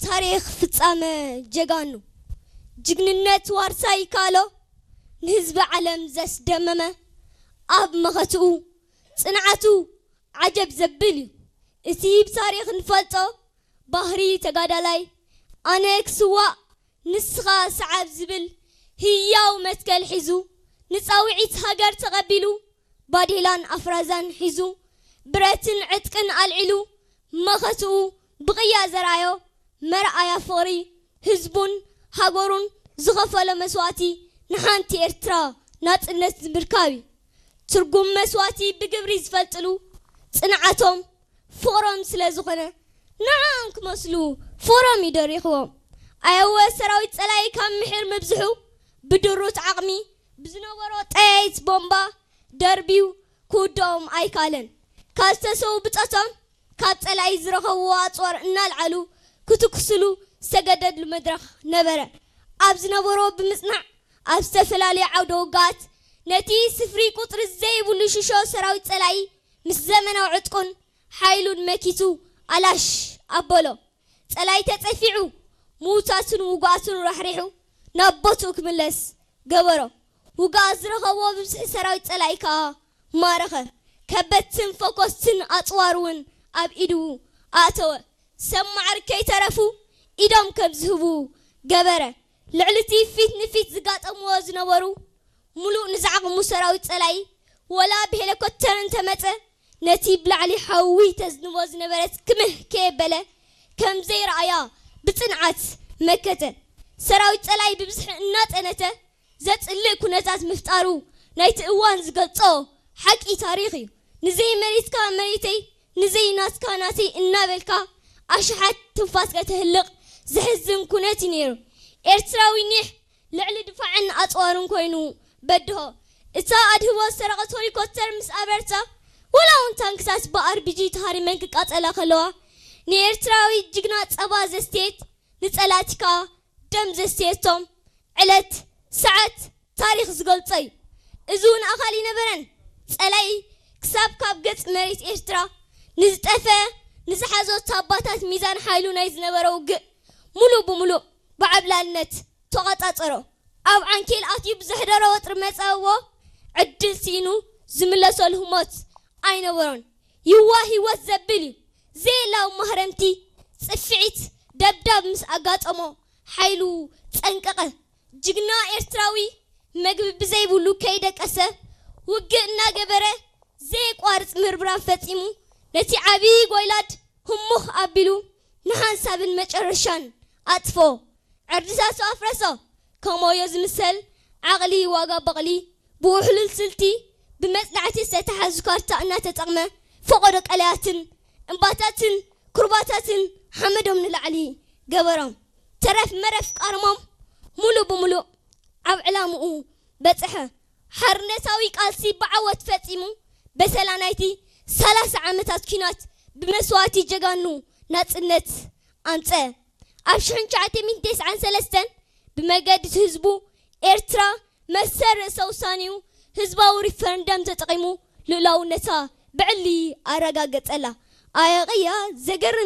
ታሪኽ ፍጻመ ጀጋኑ፣ ጅግንነት ዋርሳይ ካሎ፣ ንህዝቢ ዓለም ዘስደመመ፣ ኣብ መኸትኡ ጽንዓቱ ዓጀብ ዘብል እዩ። እቲ ብታሪኽ ንፈልጦ ባህሪ ተጋዳላይ፣ ኣነ ክስዋእ ንስኻ ሰዓብ ዝብል ህያው መትከል ሒዙ፣ ንጻውዒት ሃገር ተቐቢሉ፣ ባዴላን ኣፍራዛን ሒዙ፣ ብረትን ዕጥቅን ኣልዒሉ፣ መኸትኡ ብቕያ ዘርኣዮ መርኣያ ፍቕሪ፣ ህዝቡን ሃገሩን ዝኸፈሎ መስዋእቲ ንሓንቲ ኤርትራ ናጽነት ንምርካብ እዩ። ትርጉም መስዋእቲ ብግብሪ ዝፈልጥሉ ጽንዓቶም ፍቕሮም ስለ ዝኾነ፣ ንዓኦም ክመስሉ ፍቕሮም እዩ ደሪኽዎም። ኣየወ ሰራዊት ጸላኢ ካብ ምሒር ምብዝሑ፣ ብድሩት ዓቕሚ ብዝነበሮ ጠያይት ቦምባ ደርብዩ ክውድኦም ኣይካለን። ካብ ዝተሰዉ ብጾቶም፣ ካብ ጸላኢ ዝረኸብዎ ኣጽዋር እናልዓሉ ክትኩስሉ ዝተገደድሉ መድረኽ ነበረ። ኣብ ዝነበሮ ብምጽናዕ፣ ኣብ ዝተፈላለዩ ዓውደ ውግኣት ነቲ ስፍሪ ቁጽሪ ዘይብሉ ሽሾ ሰራዊት ጸላኢ ምስ ዘመናዊ ዕጥቁን ሓይሉን መኪቱ ኣላሽ ኣበሎ። ጸላኢ ተጸፊዑ፣ ምዉታቱን ውጉኣቱን ራሕሪሑ ናብ ቦትኡ ክምለስ ገበሮ። ውግኣት ዝረኸብዎ ብዝሒ ሰራዊት ጸላኢ ከኣ ማረኸ። ከበድትን ፈኮስትን ኣጽዋር እውን ኣብ ኢዱ ኣእተወ። ሰብ ማዕርግ ከይተረፉ ኢዶም ከም ዝህቡ ገበረ። ልዕሊ እቲ ፊት ንፊት ዝጋጠምዎ ዝነበሩ፣ ምሉእ ንዝዓቕሙ ሰራዊት ጸላኢ፣ ወላ ብሄሊኮፕተር እንተመጸ፣ ነቲ ብላዕሊ ሓዊ ተዝንቦ ዝነበረት ክምህ ከየበለ ከም ዘይረኣያ ብጽንዓት መከተ። ሰራዊት ጸላኢ ብብዝሒ እናጠነተ ዘጽልእ ኩነታት ምፍጣሩ ናይቲ እዋን ዝገልጾ ሓቂ ታሪኽ እዩ። ንዘይ መሬትካ መሬተይ፣ ንዘይ ናትካ ናተይ እናበልካ ኣሽሓት ትንፋስ ከተህልቕ ዘሕዝን ኩነት እዩ ነይሩ። ኤርትራዊ ኒሕ ልዕሊ ድፋዕን ኣጽዋርን ኮይኑ በድሆ። እታ ኣድህቦ ዝሰረቐት ሄሊኮፕተር ምስ ኣበረታ፣ ወላ እውን ታንክታት ብኣርቢጂ ተሃሪመን ክቃጸላ ከለዋ፣ ንኤርትራዊ ጅግና ጸባ ዘስትየት፣ ንጸላእቲ ከኣ ደም ዘስትየቶም ዕለት፣ ሰዓት፣ ታሪኽ ዝገልጾ እዩ። እዚ እውን ኣኻሊ ነበረን። ጸላኢ ክሳብ ካብ ገጽ መሬት ኤርትራ ንዝጠፈ፣ ንዝሓዞ ታባታት ሚዛን ሓይሉ ናይ ዝነበረ ውግእ፣ ሙሉእ ብሙሉእ ብዓብላልነት ተቖጻጸሮ። ኣብ ዓንኬል ኣትዩ ብዘሕደሮ ወጥሪ መጸእዎ ዕድል ስኢኑ ዝምለሰሉ ህሞት ኣይነበሮን። ይዋ ህይወት ዘብል እዩ። ዘየላው ማህረምቲ ጽፍዒት ደብዳብ ምስ ኣጋጠሞ ሓይሉ ጸንቀቐ። ጅግና ኤርትራዊ መግቢ ብዘይብሉ ከይደቀሰ ውግእ እናገበረ ዘየቋርጽ ምርብራብ ፈጺሙ ነቲ ዓቢ ጎይላድ ህሙኽ ኣቢሉ ንሓንሳብን መጨረሻን ኣጥፎ። ዕርድታቱ ኣፍረሶ። ከም ወዮ ዝምሰል ዓቕሊ ዋጋ በቕሊ ብውሕሉል ስልቲ ብመጽናዕቲ ዝተተሓዙ ካርታ እናተጠቕመ ፈቐዶ ቀላያትን እምባታትን ኩርባታትን ሓመዶም ንላዕሊ ገበሮም። ተረፍ መረፍ ቃርሞም ሙሉእ ብሙሉእ ኣብ ዕላምኡ በጽሐ። ሓርነታዊ ቃልሲ ብዓወት ፈጺሙ በሰላ ናይቲ ሰላሳ ዓመታት ኲናት ብመስዋእቲ ጀጋኑ ናጽነት ኣምጸ። ኣብ ሽሕን ትሽዓተ ሚእትን ተስዓን ሰለስተን ብመገዲ ህዝቡ ኤርትራ መሰል ርእሰ ውሳኔኡ ህዝባዊ ሪፈረንደም ተጠቒሙ ልኡላውነታ ብዕሊ ኣረጋገጸላ። ኣየቕያ ዘገርም